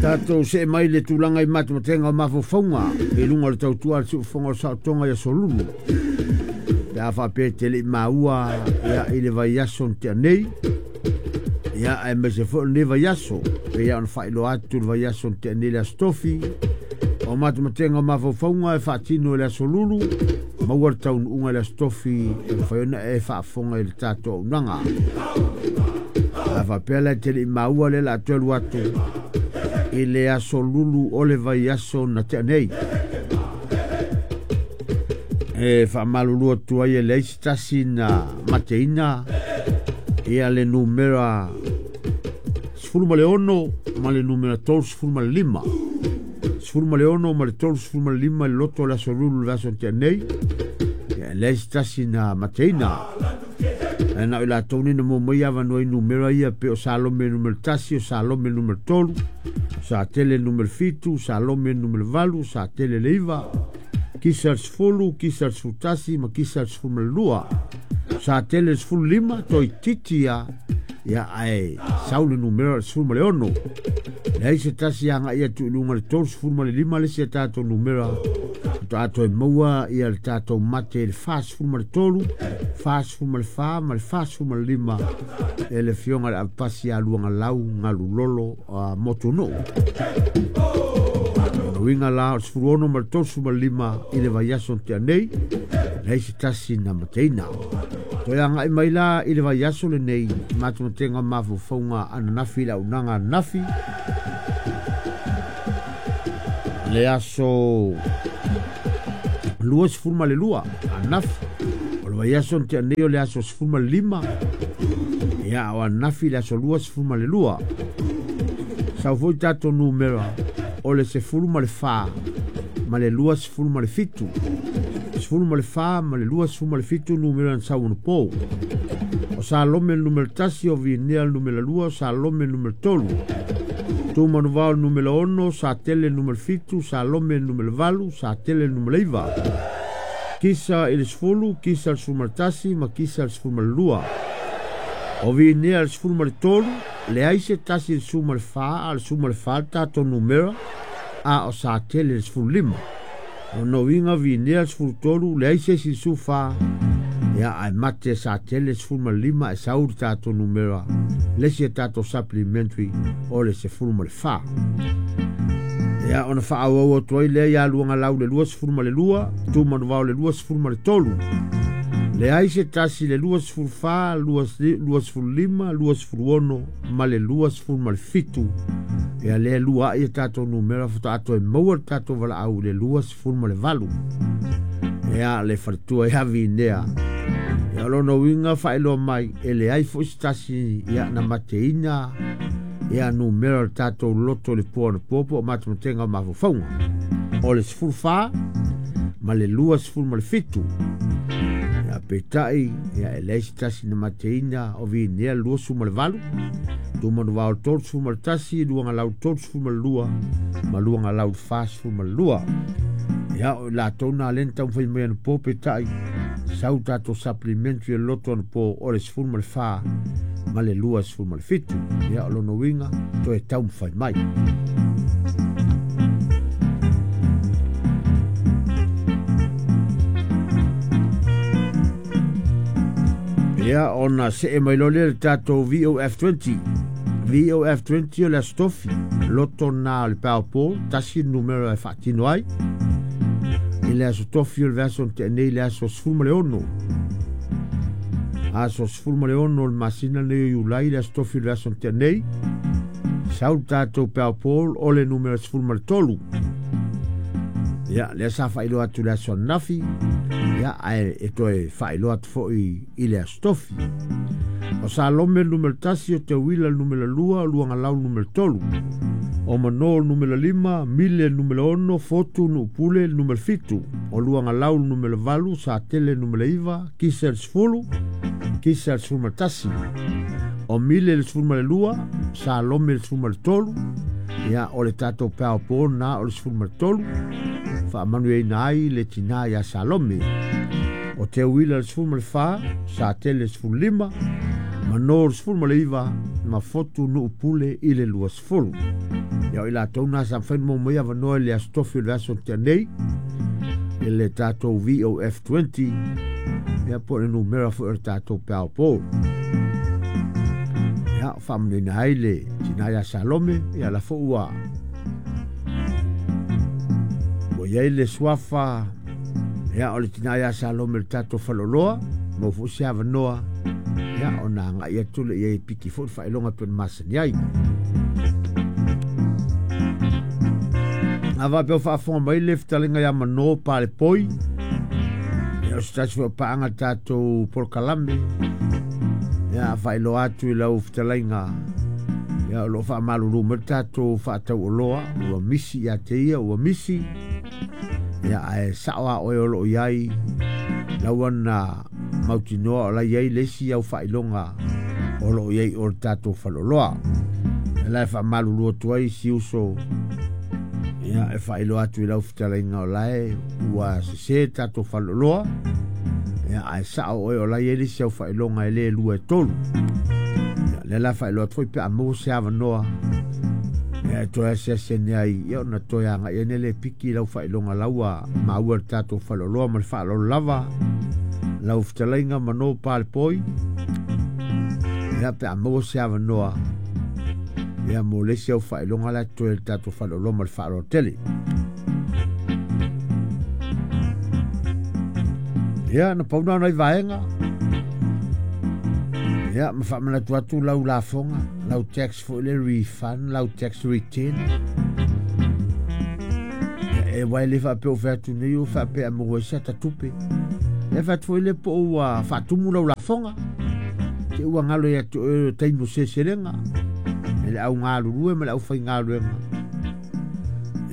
Tatou see mai le tulaga i matematega o mafaufauga i luga o le tautua a le siufofoga o le saotoga i aso Lulu pe a faapea e te le i maua ia i le vaiaso na tea nei ia aemaise foi o lenei vaiaso pei lava ona faailoa atu le vaiaso na tea nei le Aso Tofi o matematega o mafaufauga e faatino i le aso Lulu maua le taunuuga i le Aso Tofi e mafai ona e faafofoga i le tatou auaunaga. A faapea la e te le i maua lea o le a toe alu atu i le aso Lulu o le vaiaso na tea nei. E faamalulu atu ai e leai se tasi na mateina ia le numera 16 ma le numera 35. 16 ma le 35 i le loto o le aso Lulu le vaiaso na tea nei. Ia e leai se tasi na mateina. Ae na o i latou nei na maua mai avanoa i numera ia pei o Salome numera 1, o Salome numera 3, Satele numera 7, Salome numera 8, Satele le 9, Kisa le 10, Kisa le 11 ma Kisa le 12. Satele le 15, toeitiiti lava, ia ae sau le numera o le 16. Leai se tasi agai atu i luga i le 35 le isi a tatou numera faatoa toe maua ia le tatou mate i le 43, 44 ma le 45 e le Afioga i le Avepasi ia Luagalau Galulolo Motunuu. O lona uiga la o le 16 ma le 35 i le vaiaso na tea nei, leai se tasi na mateina. Toe agai mai la i le vaiaso lenei, matematega o mafaufauga ananafi i le auaunaga ananafi, le aso 22 ananafi. O le vaiaso na tea nei o le aso 15, ia o ananafi le aso 22. Sau foi tatou numera o le 14 ma le 27. 14 ma le 27 numera na sau anapo. O Salome le numera 1, o Vinea le numera 2, o Salome le numera 3. Tumanuvao le numera 6, Satele le numera 7, Salome le numera 8, Satele le numera 9. Kisa i le 10, Kisa le 11 ma Kisa le 12. O Vinea le 13, leai se tasi i le 14, a o le 14 le tatou numera, a o Satele le 15. O lona uiga Vinea le 13, leai se isi i le 14, ia ae mate Satele le 15 ae sau le tatou numera, le isi a tatou supplementary o le 14. Ia ona faaauau atu ai lea ia Luagalau le 22, Tumanuvao le 23. Leai se tasi le 24, 25, 26 ma le 27. Ia lea lua ai a tatou numera faatoa toe maua le tatou valaau i le 28. Ia le faletua ia Vinea. Ia o lona uiga faailoa mai e leai foi se tasi ia na mateina ia numera o le tatou loto i le po anapo po o matematega o mafaufauga. O le 14 ma le 27. Ia peitai ia e leai se tasi na mateina o Vinea le 28, Tumanuvao le 31, Luagalau 32 ma Luagalau 42. Ia o i latou na lea na taumafai mai anapo peitai sau tatou supplementary o le loto anapo o le 14 ma le 27. Ia o lona uiga toe taumafai mai. Ia ona see mai loa lea i le tatou VOF20. VOF20 o le Aso Tofi, loto na o le Powerball, tasi le numera e faatino ai. I le Aso Tofi o le vaiaso na tea nei i le aso 16. Aso 16 o le masina lenei o Iulai, le Aso Tofi o le vaiaso na tea nei. Sau le tatou Powerball o le numera 13. Ia, lea sa faailoa atu i le aso ananafi, ia, ae e toe faailoa atu foi i le Aso Tofi. O Salome le numera 1, o Teuila le numera 2, o Luagalau le numera 3. O Mano le numera 5, Mile le numera 6, Fotu Nuupule le numera 7. O Luagalau le numera 8, Satele le numera 9, Kisa le 10, Kisa le 11. O Mile le 12, Salome le 13. Ia, o le tatou Powerball na o le 13. Faamanuiaina ai le tina ia Salome. O Teuila le 14, Satele le 15, Mano 19 ma fotu nuu pule i le 20. Ia o i latou na sa mawhai mo mai avanoa i le aso tofi o le aso tea nei i le tatou VOF20 ia po o le numera foi o le tatou Powerball. Ia faamanuina ai le tina ia Salome ia la foi ua iai le suafa ia o le tina ia Salome le tatou faleoloa mo foi se avanoa ia ona agai atu le iai piki foi le faailoga pe ona masani ai. A faapea o faafofoga mai le fetalenga ia Mano Palepoi ia o se tasi foi o paaga le tatou polokalame ia faailoa atu i lau fetalaiga ia o loo faamalulu mai le tatou faatauoloa ua misi ia te ia ua misi ia ae sao a oe o loo iai lau ana mautinoa o la iai le isi au faailoga o loo iai o le tatou faleoloa. E la e faamalulu atu ai si uso ia e faailoa atu i lau fetalaiga o lae ua sese tatou faleoloa ia ae sao oe o la iai le isi au faailoga e le 2 e 3. Ia le la faailoa atu foi pe a maua se avanoa ia e toe asiasi ane ai ia ona toe agai ane le piki i lau faailoga lau maua le tatou faleoloa ma le faaaloalo lava lau fetalaiga Mano Palepoi ia pe a maua se avanoa ia mo le isi au faailoga la toe le tatou faleoloa ma le faaaloalo tele. Ia na pauna ona i vaega ia ma faamanatu atu lau lafoga lau tax foi le refund lau tax return ia e wai le faapea o fai atu nei o faapea maua ai se ata tupe e fai atu foi le po ua faatumu lau lafoga te ua galo ia te oe o taimi o seleselega e le au galulue ma le aufaigaluega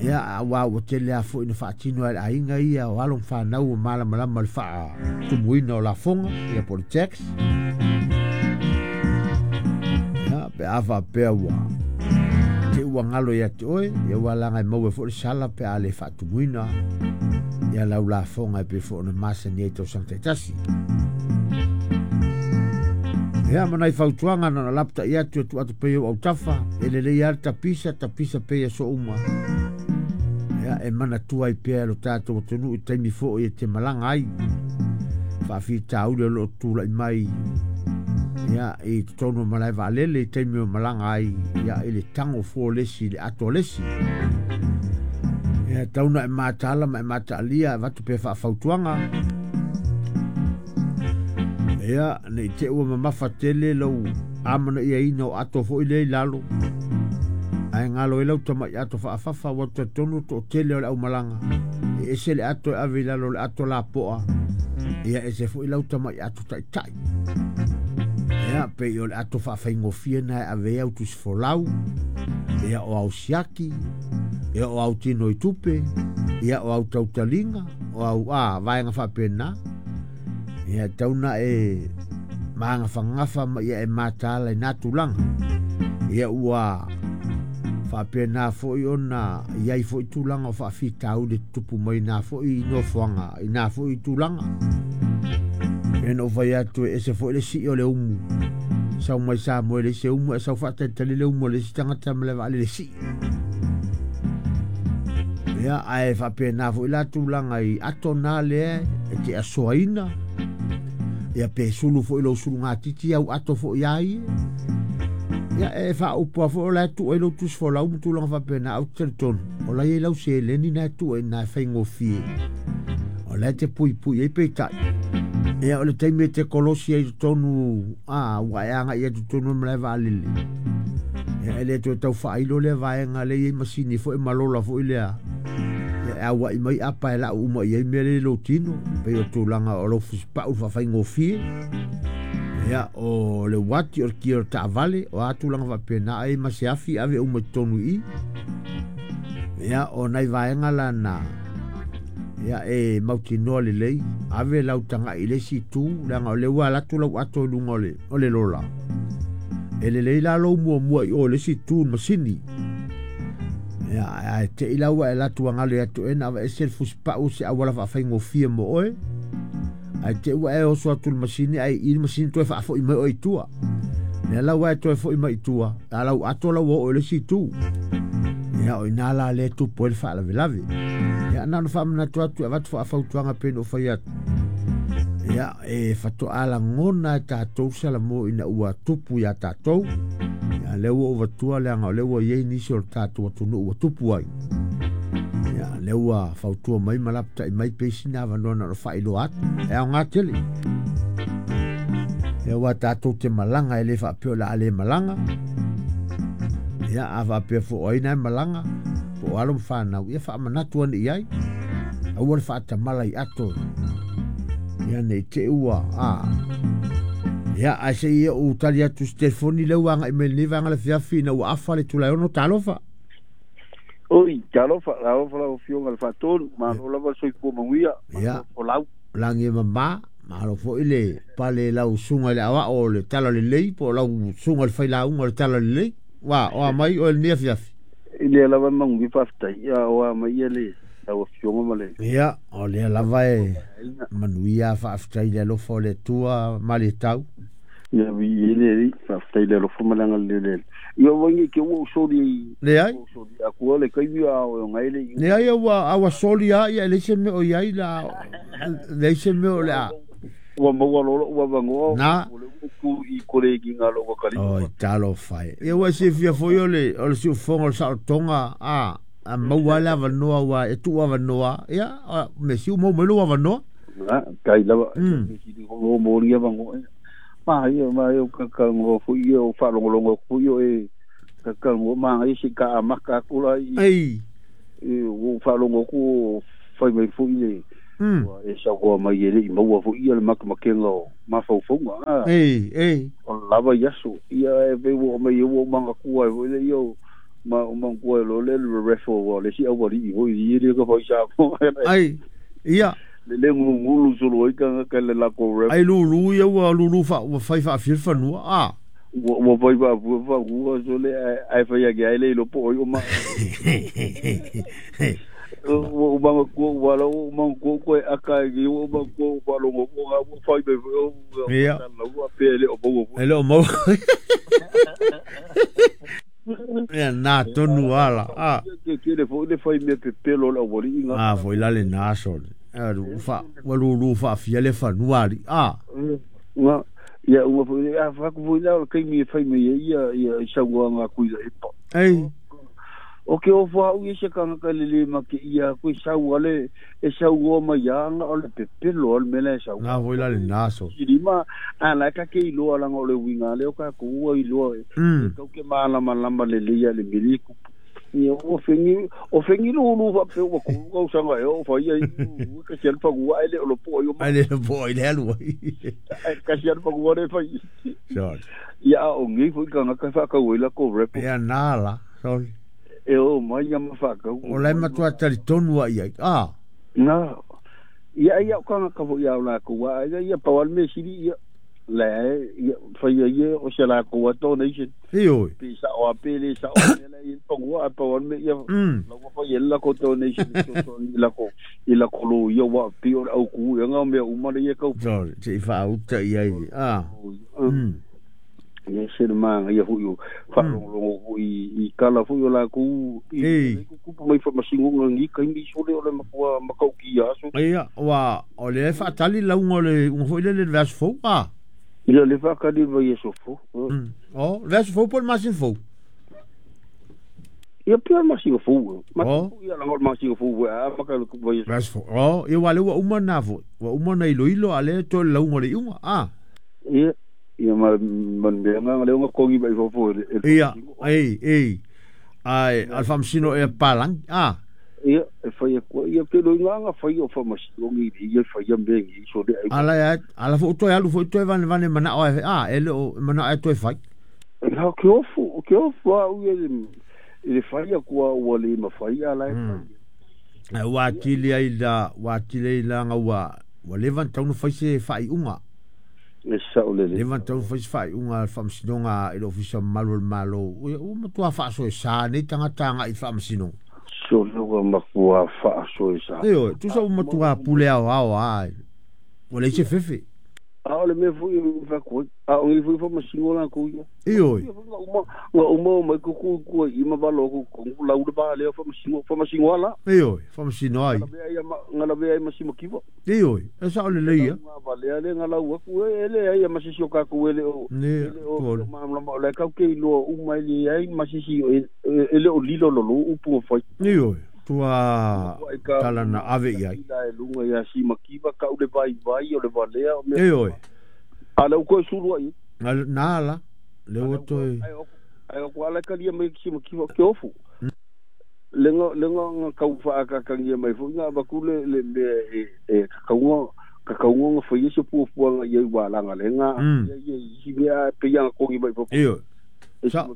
ia aua ua tele a foi na faatino ai le aiga ia o alo ma fanau o malamalama le faatumuina o lafoga ia po o le tax ia pe a faapea ua te ua galo ia te oe ia ua laga e maua foi le sala pe a le faatumuina ia lau lafoga e pei foi ona masani ai tausaga taitasi. Ia ma nai fautuaga na ona lapata'i atu e tuu atu pea i ou autafa e lelei lava le tapisa tapisa pea i aso uma ia e manatua ai pea e lo tatou atunuu i taimi foi e te malaga ai faafitauli o loo tula'i mai ia i totonu o malae vaalele i taimi o malaga ai ia i le tago fua o le isi i le ato a le isi. Ia tau na e mataala ma e mataalia e avatu pea faafautuaga ia nei te ua mamafa tele lau amanaiaina o ato foi lea i lalo ae galo ai lau tama'i ato faafafa ua talitonu to'atele o le aumalaga e ese le ato e ave i lalo o le ato lapo'a ia ese foi lau tama'i ato ta'ita'i ia pei o le ato faafaigofie na e ave ai au tusi folau ia o au siaki ia o au tino i tupe ia o au tautaliga o au a vaega faapena ia tau na e magafagafa ma ia e mataala i na tulaga ia ua faapena foi ona iai foi tulaga o faafitauli tutupu mai na foi nofoaga i na foi tulaga. E na ou fai atu e ese foi le sii o le umu sau mai Samoa e leai se umu ae sau faatalitali le umu a le isi tagata ma le vaalele sii. Ia ae faapena foi la tulaga i ato na lea e te asoaina ia pe sulu foi lou sulugatiti au ato foi ai ia e faaupu a foi o la e tuu ai lou tusi folau ma tulaga faapena au te talitonu o la iai lau seleni na e tuu ai na e faigofie o la e te puipui ai peitai ia o le taimi e te kolosi ai totonu a ua e agai atu totonu o le malae vaalele ia e le toe tau faailo lea vaega lea iai masini foi ma lola foi lea ia e aua'i mai apa e la'u uma i ai mea lea i lou tino pei o tulaga o lou fusipa'u faafaigofie ia o le uati o le kia o le taavale o a tulaga faapena ai ma se afi ave uma i totonu i i ia o nai vaega lana ia e mautinoa lelei ave lau taga'i i le isi itu leaga o lea ua alu atu lau ato i luga o le lola e lelei la lou muamua i o i le isi itu i le masini ia ae te'i la ua e alu atu ua galo ia te oe na aveese le fusipa'u se auala faafaigofie mo oe ae te ua e oso atu i le masini ae i le masini toe faafo'i mai oe i tua. Lea la ua e toe fo'i mai i tua, a lau ato la ua oo i le isi itu. Ia o ina la lea e tupu ai le faalavelave. Ia na ona faamanatu atu e avatu faafautuaga pei ona ou fai atu. Ia e faatoa lagona e tatou Salamo ina ua tupu iā tatou. Ia lea ua ou avatua leaga o lea ua i ai nisi o le tatou atunuu ua tupu ai. Ia lea ua fautua mai ma lapatai mai pei sina avanoa na ona faailoa atu. E aoga tele. Ia aua tatou te malaga e le faapea o le a le malaga. Ia a faapea foi o ai na e malaga, po o alo ma fanau, ia faamanatu ane i ai. Aua le faatamala i ato. Ia nei te i ua a. Ia ae se i ou tali atu i se telefoni lea ua agai mai i lenei vaega o le afiafi ina ua afa le Tulaeono. Talofa. Oi, talofa, talofa lau Afioga i le Faatonu, malo lava le soifua manuia, Ia, malo folau. Lagi e mama, malo foi le pale i lau susuga i le aoao o le Talalelei po o lau susuga i le failauga o le Talalelei. Ua, o a mai oe i lenei afiafi? I lea lava e manuia faafetai, ia o a mai ia le lau Afioga ma le Ia, o lea lava e manuia faafetai i le alofa o le Atua malietau. Ia viia le Alii, faafetai i le alofa ma le agalelei o le Alii. Ia ua nei te ua ou soli ai, Leai. ua ou soli aku le taimi a o ngai le Leai ua a ua soli lava ia e leai se mea o i ai la, leai se mea o le a. Ua maua loa lou avanoa, Na. ua le ua tu i kolegi na lou atalii. Oi, talofa e. Ia ua e silafia foi o le, o le siufofoga o le saolotoga, a, a maua lava le avanoa ua e tuu avanoa, ia, o mea sili ua maua mai lou avanoa. Na, tai lava, sili o mo ni avanoa. Ma ia, ma ia, ka ka ngo foi ia, o faalogologo atu foi o e ka ka ngo ma ia se ka amaka atu la i Ei. i ua faalogo atu o fai mai foi le ua e saunoa mai e le i maua foi ia le makemakega o mafaufauga a Ei, ei. o lava i aso ia e pei ua oo mai ua ou manatua ai foi le ia o ma o manatua ai loa le refo ua le isi aualii foi i le ka fai Samoa Ai, ia. Le le gulugulu solo ai tagata i le latou ref Ai lulu ia ua lulu fa ua fai faafia le fanua a. Ua ua fai faafua fanua sole ae ae fai ake ai le iloa po o ai o ma ua ou manatua ua ala ua ou manatua ua toe aka ai nei ua ou manatua ua faalogo atu ua fai mai foi o Ia. faasalalau faapea e le o maua foi. E le o maua. Ia na tonu ala. A. Ke tele foi le fai mea pepelo o le aualii ga. A foi la lena sole. A fa ua lulu faafia le fanua alii. A. Ga ia uma foi a fai atu foi la o le taimi e fai mai ai ia ia i saunoaga a Tuilaepa. Ei. O ke ofo au ia se tagata le le make ia atu e sau ale e saunoa mai ana o le pepelo o le mea la e sau. Na foi la lena sole. Silima a la ka ke iloa langa o le uiga lea o tatou ua iloa e tau ke malamalama lelei ia le mea lea e tupu. Ia ua fegi o fegi lulu faapea ua tolu tausaga ea o fai ai ua kasi lava le fanua ae le o lopo ai o Ai le lopo ai le alu ai. Ae kasi lava le fanua le fai. Sole. Ia a o nei foi tagata e faatau ai latou repo. Ia na la, sole. E o mai ia ma faatau. O la e matua talitonu lava i ai. A. Na. Ia ia o tagata foi a o latou a ia ia pau lava le mea sili ia la e ia fai ai ia o se latou a donation. Ioe. Pe sa'o a pe le sa'o le mea la e i ai le fanua ae pau lava le mea ia la ua fai ai le latou donation e fesoasoani i lako i lako loia aua pei o le autū ea na o mea uma lea e tau Sole, se i faauta i ai. A. Ia se le manaia foi o faalogologo foi i tala foi o latou i Ei. tutupu mai faamasinoga i lenei taimi sole o le matua matautia aso. Ia, ua o lea e faatali lauga o le iuga foi lele i le vaiaso fou, a. Ia le faatali i le vaiaso fou. O, le vaiaso fou po o le masina fou? Ia pei o le masina fou. Masina O. fou ia laga o le masina fou foi a amata i le vaiaso. Vaiaso fou. O, ia aua o lea ua uma lena foi. Ua uma ona iloilo a o lea e toe le lauga o le iuga, a. Ia, ia ma ma le mea lena lea ua togi mai fafo e le Ia, faamasino. ei, ei. Ae, o le faamasino ea papalagi, a. Ia, e fai atu ai, ia ke loiga na fai o faamasinoga i ia faia mea nei sole ai. Ala e ala foi toe alu foi toe vanevane manao e a e le o manao e toe fai. Na ke ofu, ke ofu au ia i le fai atu a ua le mafai a la e fai. Ai ua atili ai la, ua atili ai la nga ua ua leva ona tatau ona fai se faaiuga. E sao lelei. Leva ona tatau ona fai se faaiuga a le Faamasinoga i le Ofisa Mamalu o le Malo. Ua matua faasoesa nei tagata agai i le Faamasinoga. Sole ua matua faasoesa. Ioe, tusa ua matua pule aoao lava, ua leai se fefe. A o le mea foi e fai a o ngi foi fa masingo la ku ia. Ioe. Nga uma o mai ku ku ku i ma valo ku ku lau le ba le fa masingo fa masingo ala. Ioe, fa masino ai. Nga la vea ai masimo kiwa. Ioe, e sa o le leia. Nga va le le nga lau aku e le ai masisi o ka ku ele o. Ne, o ma ma le ka ke lo uma le ai masisi e le o lilo lo lo upu fai. Ioe. Tua tala na ave i ai. La e lunga ia si makiva ka ule vai vai o le valea o mea. Ioe. Ala u koe sulu ai. Nā la. Le o toi. Ai o ala kalia mai si makiva ke ofu. Lenga lenga nga kau whaakakangia mai fo nga bakule le me e kakaunga kakaunga nga fai se puapuanga ia i wālanga le nga ia ia isi mea pe ia kongi mai fo. Ioe. Sa.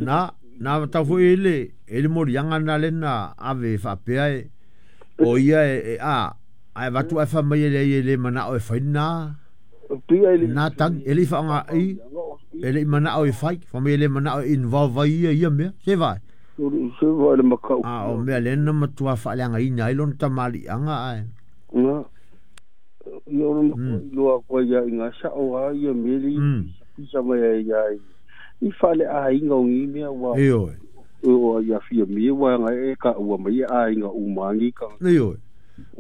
Nā. Nā tau foi ele, ele morianga na lena ave whaapea e o ia e a ai watu ai wha mai ele ele mana o e whai nā nā tang ele whaanga i ele mana o e whai wha mai ele mana o involve ia ia mea se vai se vai le makau a o mea lena matua whaaleanga i nai lona tamali anga ai ngā ia o le loa koa ia i ngā sa o a ia meli pisa mai ai ia i whale a inga o ngi mea wa. Ioe. O ia fia mea wa nga e ka ua mai a inga umangi ka. Ioe.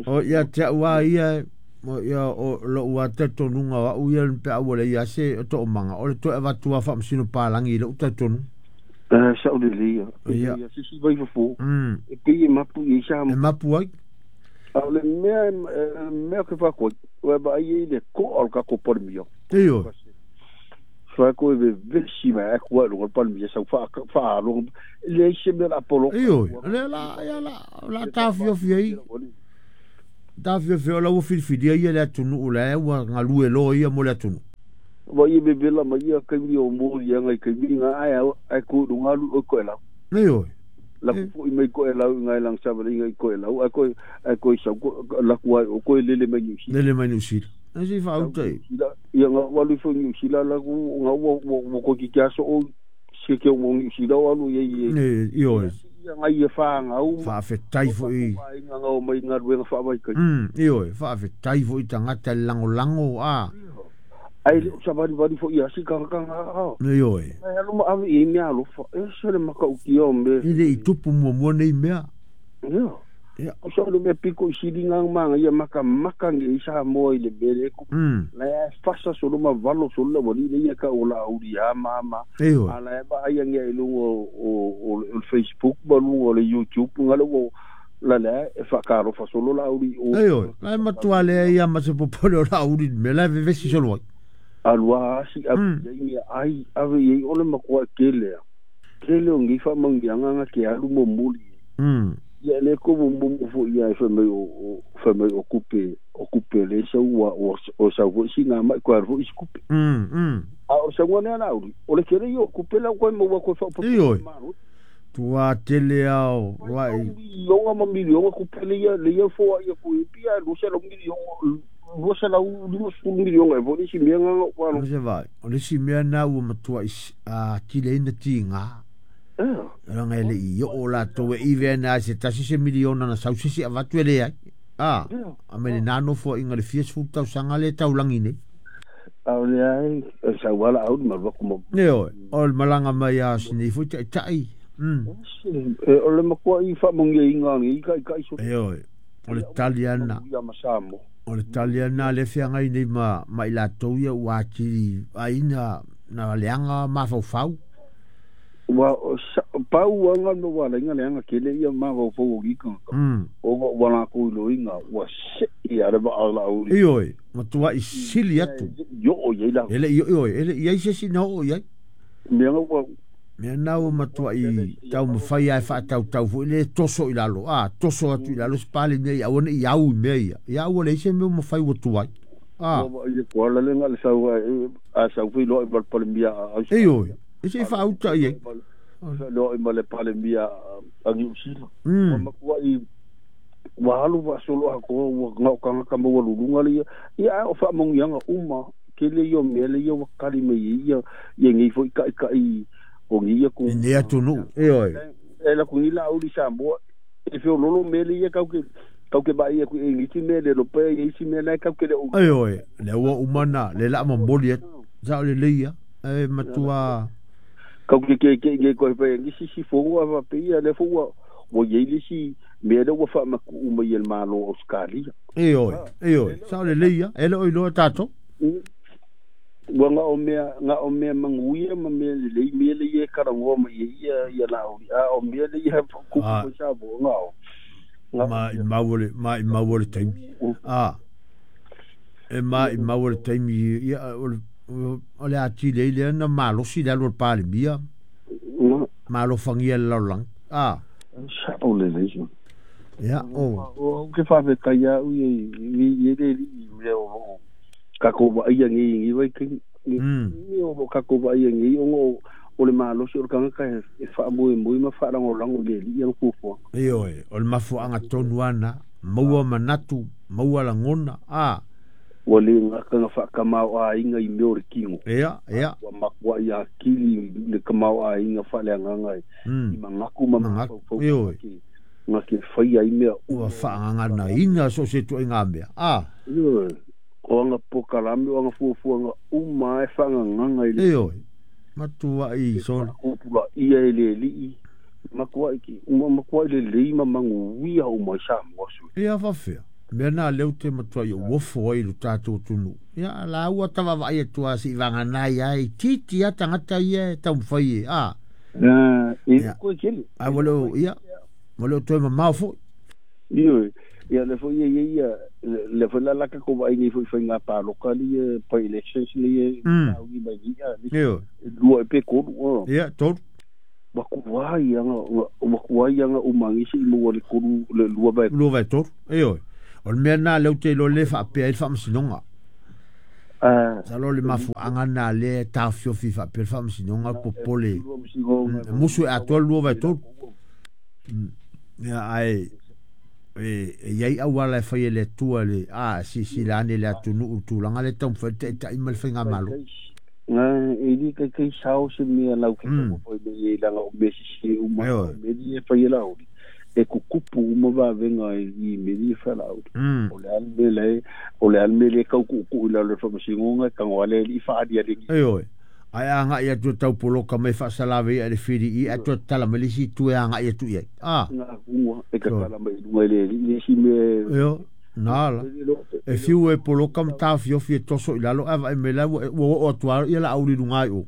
O ia te ua ia o ia o lo ua te tonunga wa uia pe au le ia se o to manga o le to avatua fa msino palangi le uta tonu. Sa o le ia. Ia si si vai fofo. E pe mapu i sa. E mapu ai. A le mea ke fa ko wa ba i le ko al ka ko por mio. Ioe. Fa ko e vesi ma ko lo palmia sa fa fa lo le se me la polo. Ioe, le la ia la la tafio fi tafio fi la wo fi fi ia le atunu la wa ngalu lo ia mo le atunu. Wa ia be bela ma ia ka mi o mo ia ngai ka mi nga ai ai ko lu ngalu o ko la. Ioe. La ko i mai ko e lau ngai lang sa ngai ko e lau ai ko sa ko la ko o ko lele mai ni. Lele mai ni si. Asi fa utai. Ia nga walu fo ni sila la ku nga wo ko ki kia so o se ke wo ni sila walu ye ye. Ne ioe. Ia nga ia fa nga u. Fa fetai fo i. Nga nga o mai nga ruenga fa mai kai. Ioe, fa fetai fo i tangata lango lango a. Ai le sa bari bari fo ia si ka ka nga. Ne ioe. Ai alu ma ave i mea alo fa. E se le maka u ki o me. Ile i tupu mua mua nei mea. Ia. Ia. O sa le mea piko i sili ngā manga ia maka maka ngi i sa moa i le mele ku. La e fasa solo ma valo solo la wali le ia ka o la auri a mama. Ioe. A la e ba ai ngia i lunga o Facebook ma lunga o le YouTube nga le o la la e whakaro fa solo la auri o. Ioe. La e matua le ia ma se popole o la auri me la e vevesi solo ai. Alua asi a ia ai ave i ole makoa kele. Kele o ngi wha mangianga nga ke alu mo muli. Ia le ko mo mo fo ia e mai o fa mai o kupe le sa ua o sa vo si nga mai ko ro is kupe. A o sa ngone ala o le kere yo kupe la ko mo ko fa po. Ioe. Tua tele ao wai. Yo nga ma milionga kupe le ia le ia fo ia ku pia lo sa lo milionga lo sa la u lo su milionga e vo ni si me nga ko no. Se vai. O le si me na u matua is a tile ina tinga. Ranga ele i o la toe i vena se tasi se miliona na sau sisi avatu ele ai. A, a mele nano fo inga le fies fu tau sanga le tau langi nei. Au le ai, sa wala au ma waku mo. Ne oi, o le malanga mai a sini fu tai tai. O le makoa i fa mongi inga ngi ka ka iso. E oi, o le taliana. Ia masamo. O le taliana le fianga nei ma mai la tou ia wa ti aina na leanga ma fau fau. Wa pau anga no wala inga le anga kele ia ma fau fau gi ka. O wa la ko lo inga wa se ia le ba ala o. Ioe, matua i sili atu. Yo o ye la. Ele ioe, ele ia se si no o ye. Me anga wa me nau matua i tau mawhai ai whaatau tau fo le toso i lalo. A, toso atu i lalo spali nei au nei au i mea ia. Ia au le ise mea mawhai watu ai. A. Wa ia ko ala le nga le sau a sau fi lo i mal palemia. Ioe. Ese i whaauta i e. Lo i male palemia a New Zealand. Wa makua i wa alu wa solo a ko wa ngau kanga ka maua lulunga le ia. Ia o whaamongianga uma kele ia mele ia wakali me ia ia ngei fo i kai kai o ngi ia ku. Nei atu nu. E oi. E la ku ni la uri Samoa. E feo lolo mele ia kau ke Kau ke vai aku e ngiti me le lope e isi me le kau ke le Ai oi, le ua umana, le la momoli atu. Sa o le leia, e matua. Kau ke ke ke nge ko pe ngisi si fongo ava pe ia le fo ua ua iai le isi mea lea ua faamakuu mai e le Malo o Ausetalia. E oi, e oi, sa o le leia, e le o iloa tatou. Ua na o mea, na o mea manuia ma mea lelei, mea lea e talanoa mai ai ia, ia Laauli, a o mea lea e kupu mai Samoa, na o. Ma i mau le, ma i mau le taimi. A, e ma i mau le taimi, ia, o le atili ai lea na malosi le alu o le Palemia. Ma alofagia le lalolagi. A. Sao lelei sui. Ia, o. O ke faafetai au ia i le alii mea o loo tatou vaaia nei i nei vaitaimi. Mea o loo tatou vaaia nei ona o le malosi o le tagata e faamoemoe ma faalagolago i le alii ana fuafuaga. Ioe, o le mafuaaga tonu lava lena, maua manatu, maua lagona, a. Ua le gata na faatamaoaiga i mea o le tino, Ia, ia. ua matuai atili le tamaoaiga faaleagaga i manatu ma mafaufau Ioe. na te faia ai mea Ua uma. faagaganaina so o se ituaiga mea, a. Ioe, o ana polokalame, o ana fuafuaga uma lava e faagagaga i le Ioe, matuai e sole. faatupulaia e le alii, matuai matuai lelei ma manuia uma ai Samoa sui. Ia faafefea, mea na lea ou te matuai ou ofo ai i lo tatou atunuu. Ia, la ua ta vaavaai atu lava se i vagana ai lava, e itiiti lava tagata ia e taumafai e, a. E Ia, koe tele. ae ua le o, ia, ua le o toe mamao foi. Ioe, ia lea foi e i ai ia, lea foi la la tatou vaai nei foi i faiga palota ia, by elections nei e sauni mai nei, a, Ioe. e lua ea pe tolu. Ia, tolu. Ua tuai lava, ua tuai lava uma nei se i maua le tolu, le lua vae. Lua vae tolu, ioe. O le mea lena lea ou te iloa lea e faapea ai le Faamasinoga. Masalo o le mafuaaga lena lea e taofiofi faapea le Faamasinoga popole e musu e atoa le lua vae tolu. Ia, ae e i ai auala e fai e le Atua le a silasila ane le atunuu i le tulaga lea e taumafai ai le taitai ma le faigamalo. E le taitai sao se mea lau te taumafai mai ai leaga o mea sese uma o mea ia e fai e Laauli, e tutupu uma vavega i mea ia e fai a Laauli. O le a le mea la o le a le mea lea e tau tuutuu i lalo o le Faamasinoga e tago lava le alii faaaliali. Ioe. Ae a agai atu e tau poloka mai faasalave ia i le filii ae toe tatala mai le isi itu e agai atu i ai. A. Gagua e tatala mai i luga i le alii le isi mea. Ioe. Na la. E fiu e poloka ma taofiofi e toso i lalo ae vaai mai la ua oo atu lava ia Laauli i luga i o.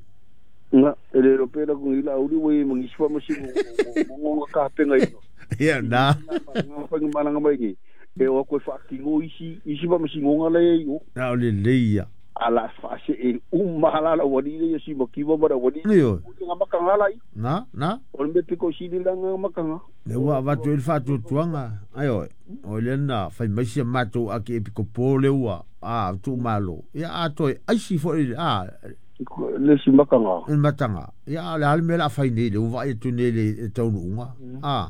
Na, e le iloa pe laku nei Laauli ua i ai ma nisi faamasino o ona tapenaina. Ia, na. Nga faigamalaga mai nei, e o atu e faatino isi isi faamasinoga la e i ai o. Na o lelei ia. A la faasee uma la le aualii lea ia Simakiva ma le aualii. Ioe. Nga mataga la ia. Na, na. O le mea pito sili la nga mataga. Lea ua avatu ai le faatuatuaga, ioe, o lea na fai mai si a matou ake epikopo lea ua, a, tuumalo. Ia, a toe aisi foi, a. Le isi mataga. Le mataga. Ia, a o le a le mea o le a fai nei, lea ua vaai atu nei i le taunuuga, a.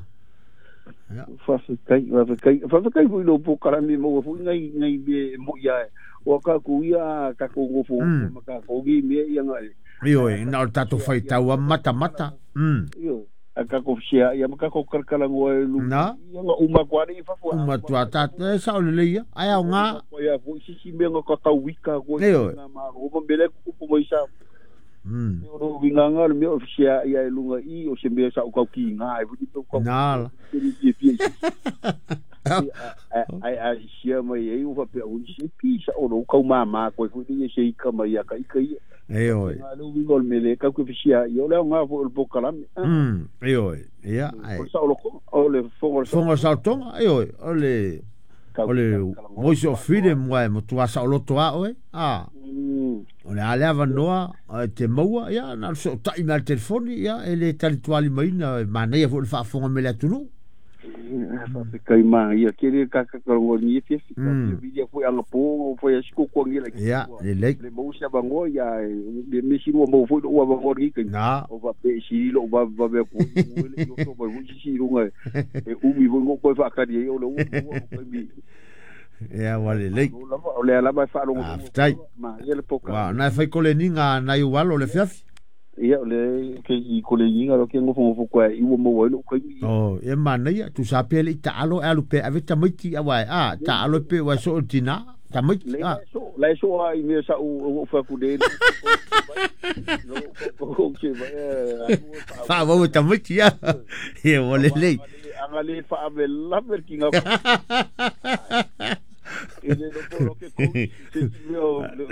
Ia. Faafetai, faafetai, faafetai foi i lou polokalame e maua foi nai nai mea e moi lava aua tatou ia a tatou nofonofo ma tatou nei mea ia na e. Ioe, na o le tatou faitau lava ma matamata. Ioe, a tatou feseai lava ma tatou talatalanoa e Na. Ia na uma atu lava lea i fafo. Uma atu lava tatou, e sao lelei ia, ae aoga. Uma atu foi se isi mea na tatauita atu ai Ioe. i Malo ma mea la e tutupu mai i Samoa. O lou uiga lena o le mea o le feseai lava i luga i i, o se mea sa ou tau kiga ai foi pe ou tau Na la. te le fiafia i se isi. Ae a isia mai ai ua faapea, oi se pi sao lou tau mama atu ai foi lea se ika mai ia ka ika ia. Ioe. Na le uiga o le mea lea tatou te feseai, o le aoga foi o le polokalame. Ioe. Ia, ae. O le saolotoga, o le fofoga o le Fofoga o le saolotoga, ioe, o le o le voice of freedom aua e matua saoloto lava oe, a. O le a le avanoa e te maua, ia, na o le fesootai mai lava i le telefoni, ia, e le talitualimaina, e manaia foi le faafofoga mai le atunuu. Faafetai manaia tele le tatou lenei afiafi. Fiafia foi anapo ona ua fai lava si tuatuagia laitiiti Ia, ua lelei. le maua se avanoa, ia le mea sili ua maua foi lou avanoa i lenei taimi. Na. O faapea e sili lou vavevave atu ai i luga e le i oso mai foi se isi i luga e umi foi ona ou toe faatali ai o lea ua maua lou taimi. Ia, ua lelei. Malo lava, o lea lava e faalogologo atu Faafetai. lava, manaia le Ua, polokalame. na e fai koleniga a nai ou alo i le afiafi. Ia le ke i koleginga lo ke ngofo kwa i wo mo lo kai. Oh, e manaia tu sa pele i taalo e alu pe ave tamaiti awa a taalo pe wa so tina tamaiti a so la so ai me sa u fa ku de. Fa wo tamaiti ya. E wo le le. Anga le fa ave la ver ki nga.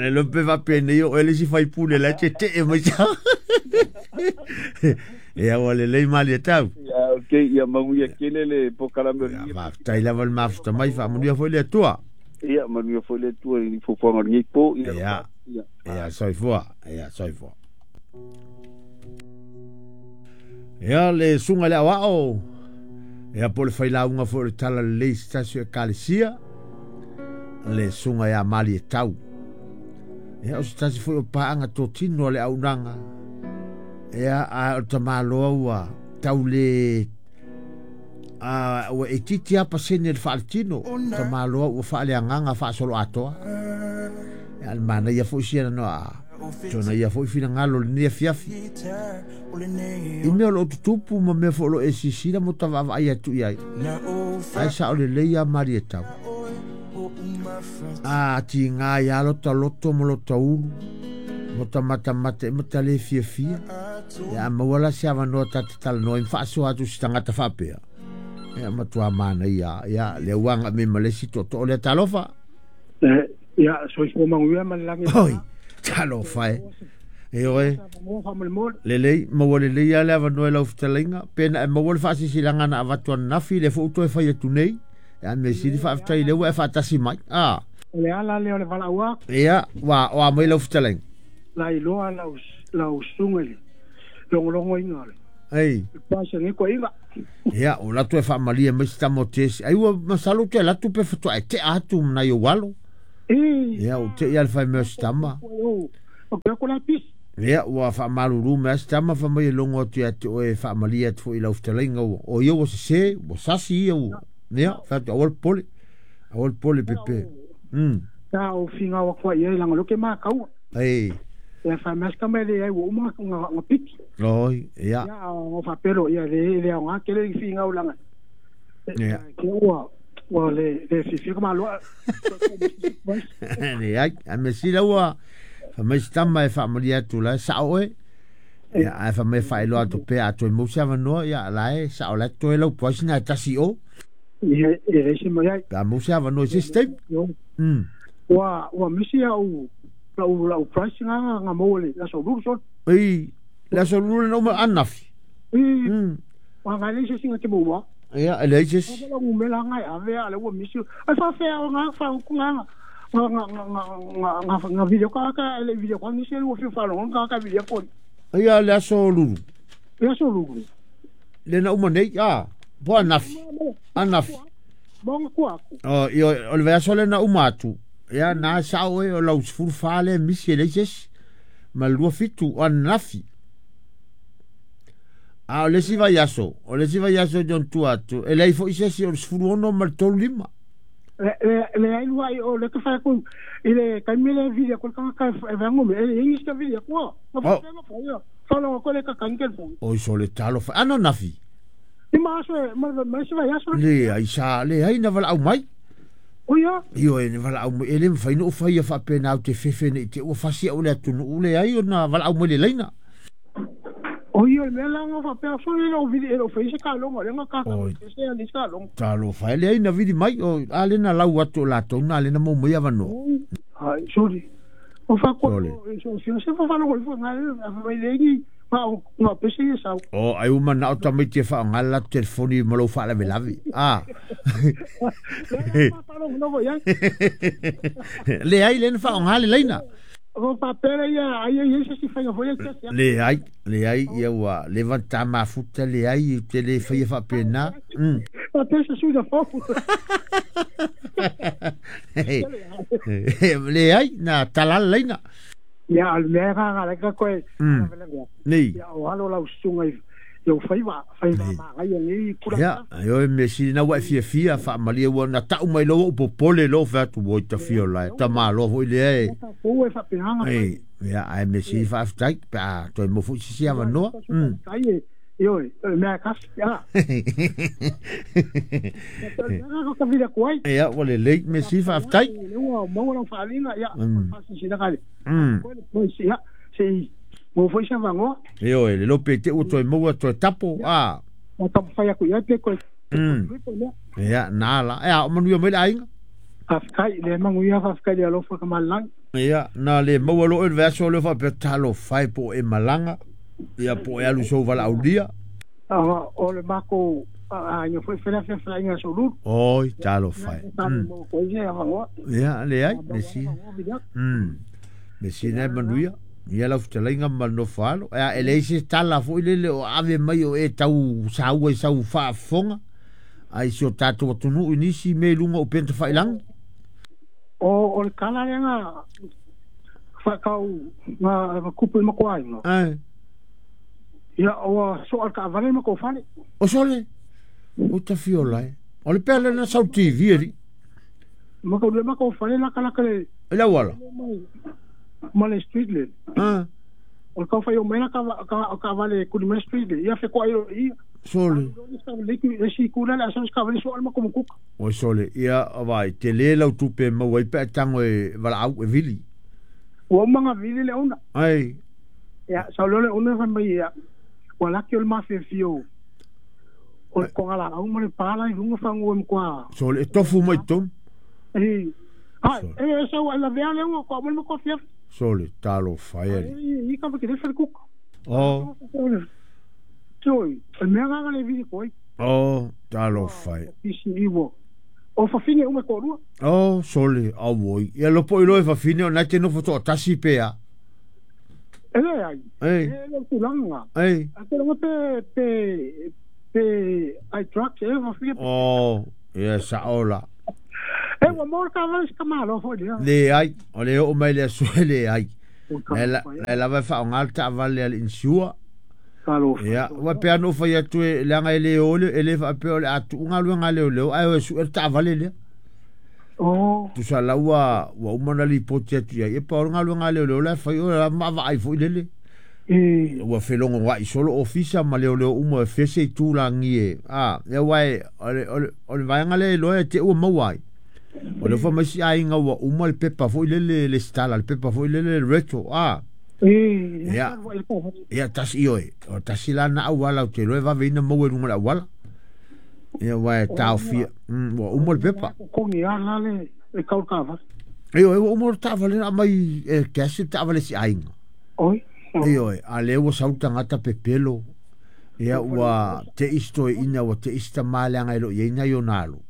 Le lo pe va pene yo ele si fai pule la te te e mai sa. E awa le lei mali e tau. Ia, okay, ia manuia kele le pokalame. Ia, faafetai lava le mafuta mai, faamanuia foi le Atua. Ia, manuia foi le Atua i fofoga o lenei po. Ia, ia, soifua, ia, soifua. Ia, le suga le aoao. Ia, po le failauga foi o le tala lelei se tasi o ekalesia. Le suga ia mali e tau. Ia, o se tasi foi o paanga totino a le aunaga. Ia, a o tamaloa ua tau le ua e titi a pasene le faaletino. Tamaloa ua faaleagaga faasolo atoa. Ia, le manaia foi sia na noa. Tona ia foi finagalo le nia fiafi. I mea o loo tutupu ma mea foi o loo e sisila mo tavaavaai atu i ai. Ai sa o le lei a mali e tau. A tiga ia lota loto ma lota ulu. Mo ta matamata e mata le fiafia. Ia maua la se avanoa ta te talanoa i mfaasoa atu si tangata faapea. Ia matua manaia. Ia le uaga me malesi toto o le talofa. Ia soifua manuia ma le lagi. Oi, talofa e. E oe. Lelei, maua lelei a le avanoa e lau fetalaiga. Pe na e maua le faasisilaga na avatu ananafi le fo'u toe fai atu nei. Ia me sili faafetai le ua e faatasi mai. A. O le ala lea o le valaua. Ia, ua o a mai lau fetalaiga. La iloa lau susuga i le logologoina o le. Ei. Paisa nei koiga. Ia, o latu e faamalie mai si tama o tesi. Ai ua masalo te latu pe fatoa e tea atu manai o alo. Ia, o te ia le whai mea o si tama. O ke ko la pisi. Ia, ua faamalulu mai si tama fa mai e longo atu ia te oe faamalie atu foi i lau fetalaiga ua. O ia ua sese, ua sasi ia ua. Ia, whatu awal pole. Awal pole pepe. Ta o finga wa kwa ia langa loke ma kau. Ei. Ia fa maska me le ai ua uma nga piki. Oi, ia. Ia o fa pelo ia le le nga kele i finga o langa. Ia. Ke ua ua le le fifi ka maloa. Le ai, a me sila ua fa mai tama e faamalie atu la sao oe. Ia ai fa mai faailoa atu pea atu e mau se avanoa ia la e sao la toe lau poasi na e tasi o. Ia e le se mai ai. Pe a mau se avanoa i se step. Ua misi au lau price nga mo le la so lu so. Ei, la so lu no ma anafi. Wa nga le se singa te mo wa. Ia, le se. La u me la nga ave a le ua misi. Ai fa fe nga fa ku nga nga nga nga nga video ka ka le video ka ni se lu fi fa lo nga ka video ko. Ia le so lu. Le so lu. Le na uma nei a bo anafi. Anafi. Bon ku aku. Oh, io o le so le na uma atu. Ia na sao e o lau sefulu fa le misi e leai se isi ma le 27 o ananafi. A o le isi vaiaso, o le isi vaiaso e tua atu, e leai foi se isi o le 16 ma le 35. Le ai lua o le ka fa ku i le kaimi le video ko ka ka e vango me e ingi ska video ko. Oh. Fa lo ko le ka kan ke fo. Oi so le talo fa ananafi. I ma so ma se vaiaso. Le ai sa le ai na vala au mai. Oia. Io e vala au e le mawhai no whai a whapena au te whewhene i te ua fasi au le atunu ule ai o na vala au mai le leina. Oia, mea la nga whapea so le lau vili e lau whaise ka longa, le nga kaka se a ka longa. Talo whai le ai na vili mai o a le na lau atu o lātou na le na mou mai awano. Ai, sorry. O whakua, so se whawhalo koi wha ngā le le ngi ngā pese i sau. O, ai uma na o tamaiti e wha ngā la telefoni ma lau wha lawe. Ah. Le ai le na wha ngā le leina. O papele ia ai ai se si whainga foi e Le ai ia ua le vanta mafuta le ai te le whaia whapena. Papele se sui da fofu. Le ai na talala leina. Ia al mea nga la ka koe. Nei. Ia o halo lau sunga Ia faiva faiva magai nei kula. Ia, ioe me sili na ua e fiafia faamalie ua na ta'u mai loa upu popole loa featu ua i tafia o lae tamāloa fo'i lea e. Ou e faapenaga. Ei, ia ae me sili faafetai pe a toe mo fo'i sisi avanoa. Tai e ioe mea kasi ia. Ka vila kuai. Ia ua lelei me sili faafetai. Ua maua lau faaaliga ia faasilasila le. Koe ia se mo foi sa vangoa. Ioe le lope te ua toe maua toe tapo a. O taumafai atu i ai pe koe. Ia na la e a o manuia mai le aiga. Faafetai le manuia faafetai le alofa ka malagi. Ia na le maua lo'o i le vaiaso lea faapea talofa e po o e malaga ia po o e alu sou valaaulia. O le makou aiga foi felafelafelaiga aso Lulu. Oi talofa e. Ia leai me sili me sili manuia ia lau fetalaiga ma le nofo alo. Ea e leai se tala fo'i lele o ave mai o e tau saua i sau faafofoga ai si o tatou atunuu i nisi mea i luga o upega tafailagi. O le tala lea na faatau na kupu i makuaiga. Ae. Ia ua soa le taavale ma kou fale. O sole o tafiola e. O le pea lena sau TV ali. Ma kou le ma kou fale lakalaka le. E le auala. Ma le street le. Ah. O le taufai o mai la taavale kuli mai street le. Ia fekoai lo ia. Sole. Le si kula le asa taavale soa le makomakuka. O sole ia vai te le lau tupe maua ai pe a tango e valaau e vili. Ua uma na vili le ona. Ai. Ia sau lea le ona fai mai ia. Ua laki o le mafiafia o o le kogalaau ma le pala i luga fagu e matua. Sole e tofu mai tonu. E ai e sau ai lavea le ua koa mo le matua fiafi. Sole talofa e ali. I ka ke le fale kuka. O. Toi, o mea nganga le vili koi. O talofa e. Isi iwo. O fafine uma ko rua. O sole auoi. Ia lopo i loe fafine o nai te nofo to'atasi pea. E le ai. Ei. E le tulaga. Ei. A te longa pe pe pe ai truck e fafine. O ia sa'o la. E ua mo ka vale ka malo foi lea. Le ai, o le oo mai le aso e le ai. E lava e faaoga le taavale a le insure. Ia, ua pea na ou fai atu e leaga e le o le e le faapea o le a tuuga galuega a leoleo ae o e su'e le taavale lea. O. Tusa la ua ua uma na lipoti atu iai e pa o le galuega a leoleo la e fai o le vaavaai fo'i lele. E. Ua felogoa'i solo ofisa ma leoleo uma e fese i tulagi e a ia uae o le o le o le vaega lea iloa e te'u ua maua ai. O le ofa mai si aiga ua uma le pepa fo'i lele le stala le pepa fo'i lele le retro a. E. Ia ia tasi ioe o tasi la na auala ou te iloa e vaveina maua i luga o le auala. Ia uae taofia ua uma le pepa. Kongi a la le e kau ka. Ioe ua uma le taavale na aumai e cash le taavale si aiga. Oi. Ioe a lea ua sau tagata pepelo. Ia ua te'i si toe'ina ua te'i si tamā leaga e lo'o i ai nai ona alo.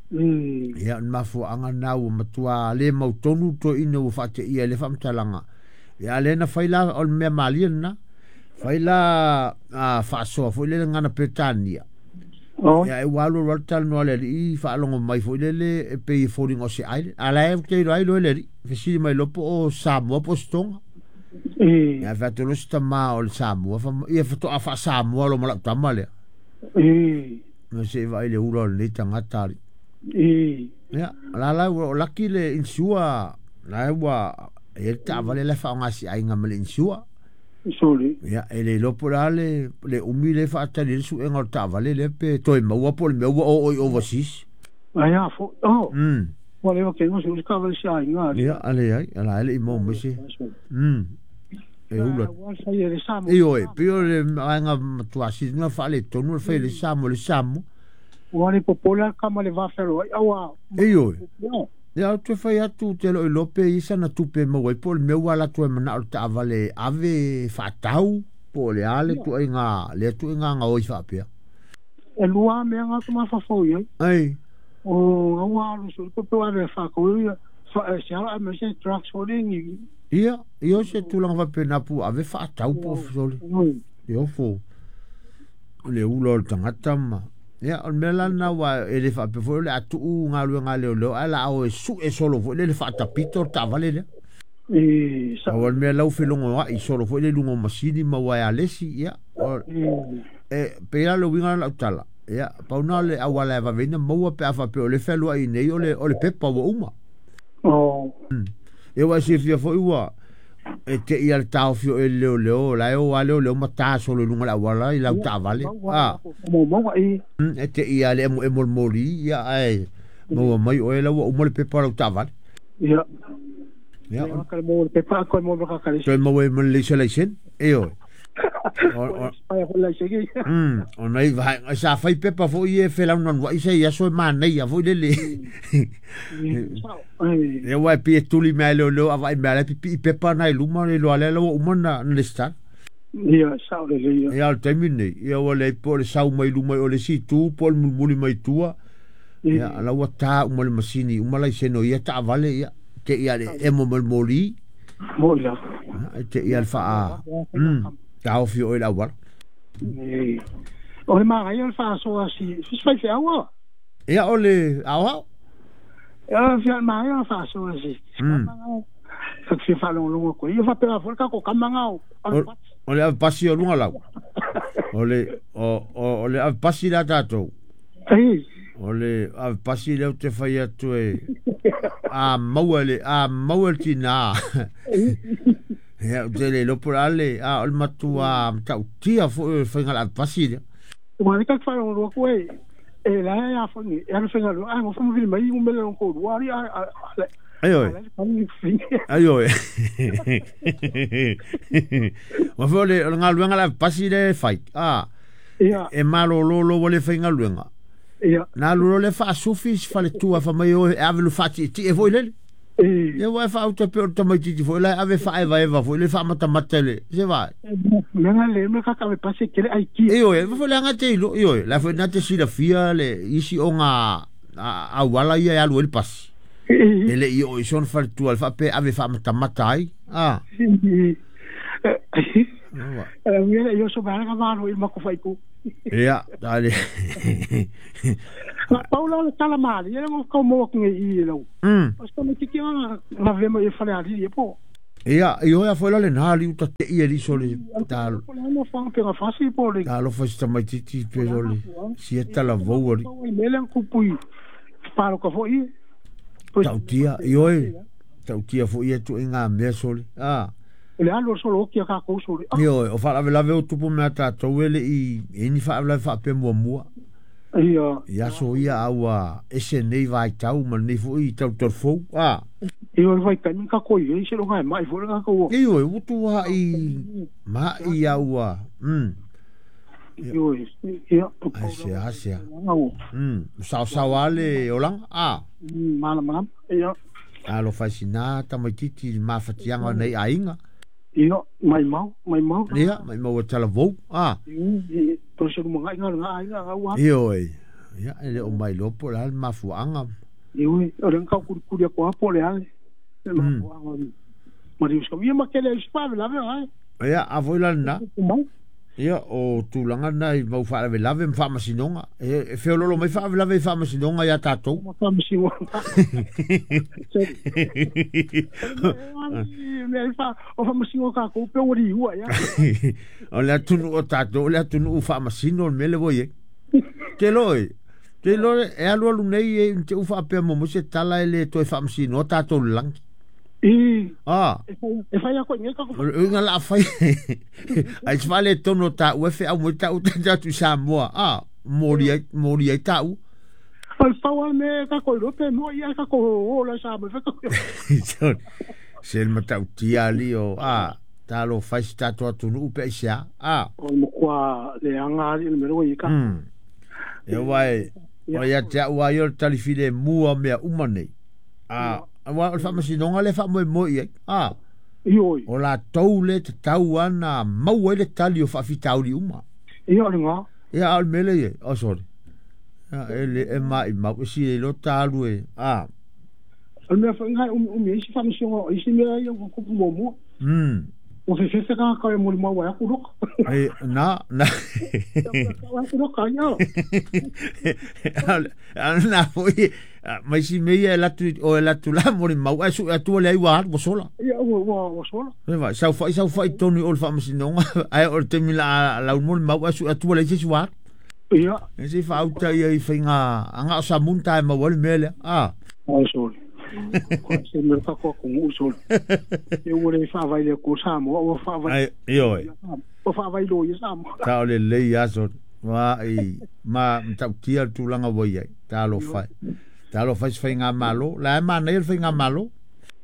Ia o le mafua'aga lena ua matuā lē mautonu toe'ina ua fa'ate'ia i le faamatalaga. Ia a lea na fai la o le mea malie lena. Fai la a faasoa fo'i lele gana Peretania. Ia e ua alu alu lava le talanoa a le ali'i faalogo mai fo'i lele e pei e foliga o se island. A la e te iloa ai loe le ali'i fesili mai loa po o Samoa po o se Tonga. E. Ia fai atu loa si tamā o le Samoa ia fato'a fa'asamoa loa ma la'u tama lea. E. Na se'i vaai le ula o lenei tagata ali. E. Ia la la ua o laki le insure la ua e le taavale la e faaoga si aiga ma le insure. Sole. Ia e le iloa po o le a le le umi le faatali ai le su'ega o le taavale lea pe toe maua po o le mea ua oo i overseas. Ai a fo. Oh. Ua le ke ngo se ka vale si aiga. Ia a leai ala e le'i maua mai se. E ula. Ua sai e le Samoa. Ioe pei o le vaega matuā sili na faaletonu le fai le Samoa le Samoa. Ua le popola ka ma le vafelo ai aua. Ioe. Ia ou te fai atu te lo'o iloa pe i sana tupe e maua ai po o le mea ua ala atu ai mana'o le taavale ave fa'atau po o le a le tu'aiga lea tu'aiga gaoi fa'apea. E lua mea nga tu mafafau i ai. Ai. O aua alu su ko pe ave fa ko ia fa se ala me se trucks fo le ni. Ia ia o se tulaga faapena pu ave fa'atau po o sole. Ia fo le ula o le tagata ma. Ia o le mea la lena ua e le faapea foi o le a tu'u galuega a leoleo ae la o e su'e solo foi le le fa'atapito le taavale lea. E sa. Au o le mea lau felogoa'i solo foi le luga o masini ma ua e alesi ia o. E pei la le uiga lena o lau tala, ia, pau na o le auala e vave ai ona maua pe a faapea o lea e fealuai nei o le, o le pepa ua uma. Oh. Ia ua e silafia foi ua e te i a le taofi o e le leoleo, la e o a leoleo ma ta solo i luga o le auala i lau taavale. A. E te i a le emoemo o le moli, ia ae maua mai oe la ua uma le pepa o lau taavale. Ia. Ia. Pepa koe mo ka kare. Toe maua ai ma le leisa laisene. Ioe. O nai vaega sa fai pepa foi e felaunanuai se i aso e manaia foi lele. Ia ua e pei e tuli mea e leoleo a vaai mea la e pipii pepa na i luma le iloa lea la ua uma na lesitala. Ia, sao lelei ia. Ia, o le taimi lenei, ia ua leai po o le sau mai luma i o le isi itu po o le mulimuli mai tua. Ia, la ua ta uma le masini uma laisene o ia taavale, ia, te i a le emo mai le moli. Moi la. E te i a le faa, taofi o i le auala. O le manaia o le faasoa si si faifeau a. Ia o le aoao. Ia fia manaia o le faasoa si. Sa fia faalogologo atu ai. Ia faapena foi le tatou tama na o O le ave pasi o luga lau. O le o le ave pasi la tatou. Ei. O le ave pasi lea ou te fai atu e a maua le a maua le tinā. Ia ou te le iloa po o le a le a o le matua matautia foi o le faiga o le ave pasi lea. Ua le tatou faalogologo atu e e la e a foi e alu faigaluega ae nofo ma vili mai umele lona toalua alii a Ai oe. Ai oe. Ua foi o le galuega le ave pasi lea e fai. A. Ia. E malolo lou ua le faigaluega. Ia. Na alu loa lea faasufi si faletua fai mai o e ave lu faatietie foi lele. Ia ua e faauta pei o le tamaititi foi la e ave faaevaeva foi le faamatamata le se vaai. Mea na le mea kaka ave pasi e tele aikia. Ioe, foi le aga te ilo, ioe, la foi na te silafia le isi o ngā auala ia e alu ai le pasi. E le i oo i sona faletua le faapea e ave faamatamata ai. A. Ia, tali. Na pau la o le tala malie le ngo kau maua atu nei i i lau. O se tamaititi nga na vema i fale alii e po. Ia, i hoea foi la le nā liu ta te ia liso le ta Po le ana whanga penga fasi po le. Ta alofa si tamaititi pe o le sia tala vou ali. I mele ang kupui paloka foi i. Tautia, i oe, tautia foi ia tu i ngā mea sole. A. O le alu o solo oki a kākou sole. I oe, o whaarawelawe o tupu mea tātou ele i e ni whaarawelawe whaapea mua mua. Ia. I aso ia aua ese nei vai tau ma nei foi i tau tau fou. A. I oe vai taimi ka koi e se longa e mai foi ka kau. I oe, utu wa i ma i aua. I oe, ia. Ai se a se a. Sao sao ale olanga. A. Mana mana. Ia. Alofa i sina tamaititi i mafatiaga o nei aiga. Ia, mai mau, mai mau. Ia, mai mau e talavou. A. I, to se lumangai ngā ngā aiga ngā ua. Ioe. Ia, e le o mai loa po o le a le mafuaaga. Ioe, o le ngau kurikuri a koa po o le a le mafuaaga. Ma riu ska. Ia ma kele ai spa vela vela ai. Ia, a foi la lena. Ia, o tulaga na i mau faalavelave ma faamasinoga. E feololo mai faalavelave i faamasinoga ia tatou. Ma faamasinoga. Mea i fa, o faamasinoga kākou pe ua liua ia. O le atunuu o tatou, o le atunuu faamasino le mea le ua i ai. Te loa e, te loa e alualu nei e te u faapea mo se tala e le toe faamasinoa tatou le lagi. I. Ah. E whai ako i ka O le uiga la fai. Ai se whale tono ta ue whe au mo ta u ta tu Samoa. Ah, mori ai, mori ai ta u. O le pau a me ka koi rope mo ia ka ko o la sa mo ka. Se le matautia ali o ah ta lo fai se tatou atunuu pe aisea. Ah. O mo kua le anga ali le mero i ka. E wai, o ia te au ai o le talifile mua mea uma nei. Ah. Aua o le faamasinoga lea e faamoemoe i ai, a. Ioe. O latou lea e tatau lava ona maua ai le tali o faafitauli uma. Ia, o lena. Ia, a o le mea lea i ai, oh sorry. Ia, e le, e maimau, e sili ai loa ta alu e, a. O le mea foi lena e umiumi ai se faamasinoga o isi mea ia ua tupu muamua. O fefefe ka e moli mau ai aku loka. E, na, na. Aku loka ia. Na foi, mai si mea e latu, o e latu la moli mau, ai su atua le ai ua atu, sola. Ia, ua sola. E vai, sau fai tonu o le whaamasinoga, ai o le temi la lau moli mau, ai su atua le se ua atu. Ia. E se whaauta ia i whainga, anga o sa munta e mau ale mea lea. Ah. Ai soli. Se me ka ko ko ngu soli. E ua le whaavai le ko sa mo, ua whaavai. Ai, ioe. Ua whaavai lo ia sa mo. Ta o le lei aso. Wa i ma mtautia tūlanga wai ai. Ta alo whai. Ta alo whai se whainga malo. La e mana ia le whainga malo.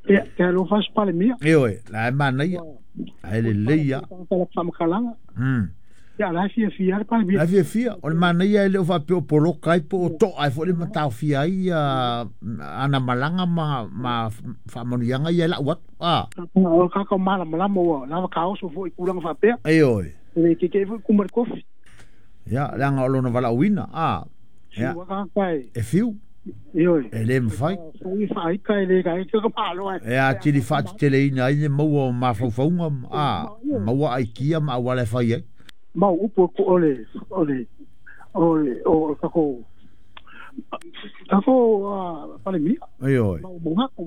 Ia, te alo whai se pale mia. Ioe, la e mana ia. Ai le lei ia. Ta la whaamakalanga. Ia, la fia fia le pale mia. La fia fia. O le mana ia e leo whapeo o poloka ai po o to'a ai fo le matau fia ai ana malanga ma whaamanuianga ia la uatu. Ah. O kaka o malamalama ua. Lava ka oso fo i kulanga whapea. Ioe. Le keke fo i kumari kofi. Ia, leanga o lona wala uina. Ah. Ia. E fiu. Ioe. E le mwhai. Fui whaika e le kai ka malo ai. E a tiri whaati tele ina ai ne maua o mawhaufaunga. Ah. Maua ai kia ma awale whai ai. Mau upu ko ole ole ole o kako kako pale mia. Ioe. Mau monga ko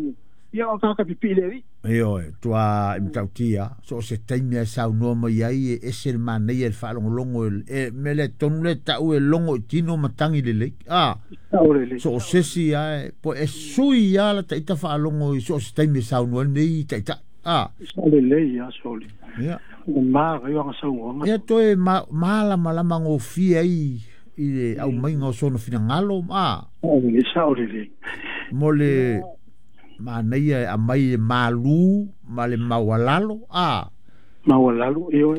ia o kaka pipi le ri. Ioe, tua imtautia so se taimi e sau noa mai ai e ese le manei e le whaalongolongo e mele tonu le tau e longo i tino matangi le lei. Ah. So o sesi ai po e sui ia la taita whaalongo i so se taimi e sau noa nei taita. Ah. Sa le lei ia soli. Ia. Ma io nga sau nga. Ia toe malama lama ngofia i le au mai ngā sono finangalo a. O le sa o le. Mo le manaia a mai malu ma le maualalo a. Maualalo io.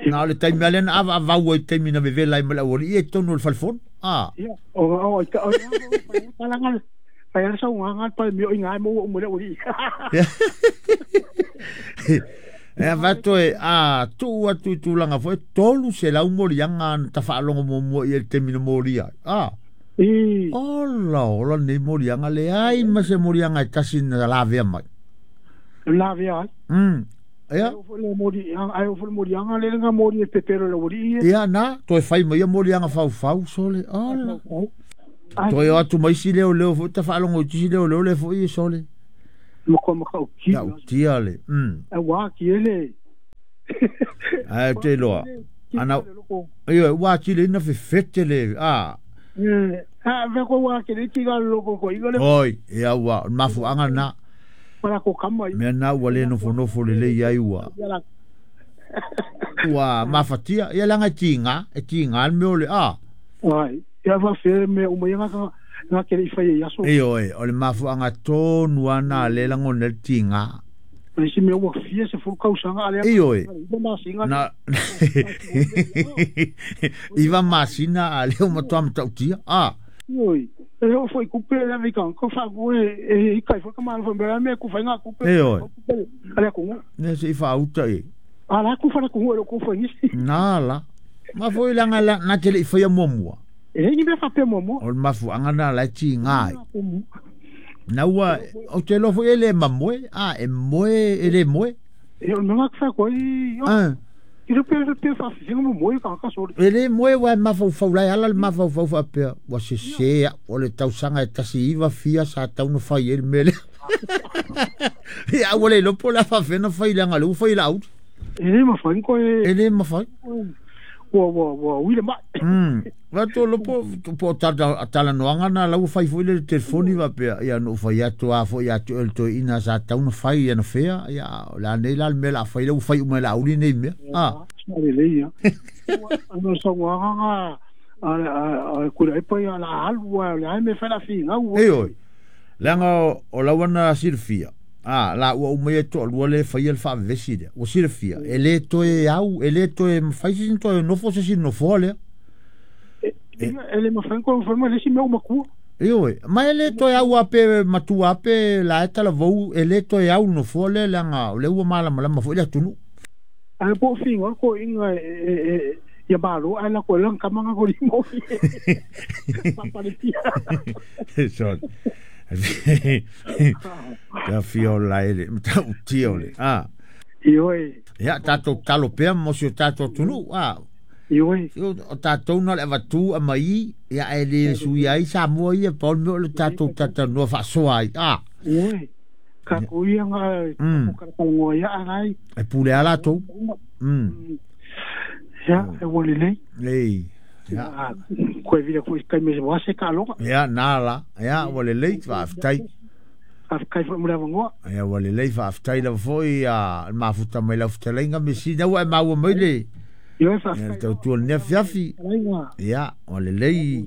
Na le taimi ale na ava avau ai taimi na vevela ai ma le auali e tonu le falefonu a. Ia o o ka o palanga. Pai ala sau nga pa mi o ingai mo o mo le uri. E avato e a tu atu tūlanga foi tolu se lau moli anga ta whaalongo mo mua i el temina moli ai. Ah. I. Ola, ola nei moli anga le ai ma se moli anga e tasi na lavea mai. Lavea ai? Ia? Ai o fole moli anga le nga moli e pepero le uri. Ia na, toe whai mai moli anga whau whau sole. Ola. Toe o atu mai si leo leo foi ta whaalongo i tisi leo leo le foi e sole. Moko moko o ki. Tau tia le. A wā ki ele. Ai te loa. Ana io wā ki le na fete le. Ah. Ha ve ko wā ki le ki ga loko ko i le. Oi, ia wā mafu anga na. Para ko kama. Me na ua le nofo nofo le le ia ua. Ua mafatia ia langa tinga, e tinga al me ole a. Ai, ia va fe me o mai nga nga ke i whai ia so. Ioe, o le mafu anga tonu ana le lango nel tinga. Le si me ua fia se fulu kausanga ale. Ioe. Iwa masina. Na iwa masina ale o matua matautia. Ah. Ioe. E o foi kupe le vika ko fa ko e i kai foi kamala foi me ku fai nga kupe. Ioe. Ale ko. Ne se i fa uta e. Ala ku fa ku ko foi ni. Na la. Ma foi langa la na tele i fai mua. E ni me fa pe momo. O mafu anga na la ti ngai. Na ua o te lofo ele mamoe a e moe ele moe. E o nga fa ko i. Ah. I le pe fa fi mo moe ka ka so. Ele moe wa mafu fa la ala mafu fa fa pe wa se se o le tausanga e tasi iwa fia sa tauna fai ele mele. Ia o le lopo la fa fena fai la ngalu fai la out. Ele ma fa ko e. Ele ma fa. Wa wa wa wi le ma. Va to lopo po tala noanga na lau fai foi le telefoni va pea ia no fai atu a foi atu el to ina sa tauna fai ia na fea ia la nei la me la fai lau fai uma la uli nei mea. Ah. Le le ia. Ano sa wanga a kura e pai ala alu la me fa la finga. Ei oi. Langa o lawana silfia. Ah, la ua umai to lua le fai el fa vesi le. O silfia. Ele to e au, ele to e fai sin to e nofo se sin nofo le. Ele ma fai ko forma le si me uma ku. Ioe, ma ele to e au ape matua ape la eta la vau ele to e au nofo le langa le ua mala mala ma fo le tunu. A po finga ko inga e ia malo ala ko lang kamanga ko limo. Papa le tia. So. Ka fio la ele, tau tio le. Ah. Ioe. Ia, tatou tatalo pea mo si o tatou atunuu, a. Ioe. O tatou na o le avatu aumai, ia, ae le suia ai Samoa ia, pau le mea o le tatou talatalanoa faasoa ai, a. Ioe. Tatou ia na talanoa ia ai. E pule lava latou. Ia, e ua lelei. Ei. Ia. Koe vila foi kai me wase ka aloga. Ia, na la. Ia, ua lelei, faafetai. Faafetai foi mo le avanoa. Ia, ua lelei, faafetai lava foi a le mafuta mai lau fetalaiga Mesina, ua e maua mai le Ioe, faafetai. Le tautua i lenei afiafi. Ia, ua lelei.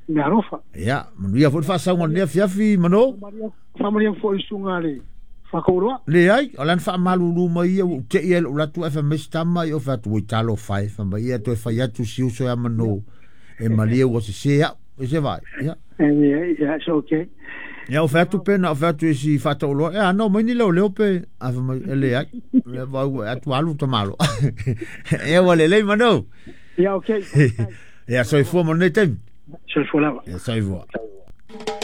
Me alofa. Ia, manuia foi le faasauga o lenei afiafi, Mano. Faamanuia foi i susuga le Faatauloa. Leai, o la na faamalulu mai ia, ua ou te i ai i lou latu ae fai mai si tama, ia ou fai atu, oi talofa e, fai mai ia toe fai atu si uso ia Mano, e malie ua sese au, e se vaai, ia. Yeah, it's okay. Ia, ou fai atu pe na ou fai atu i si Faatauloa, e a, na omai ni leoleo pe, ae fai mai, e leai, le vau ua atu alu tamalo. Ia, ua lelei Mano. Ia, okay. Ia, soifua mo lenei taimi. Soifua lava. Ia, soifua.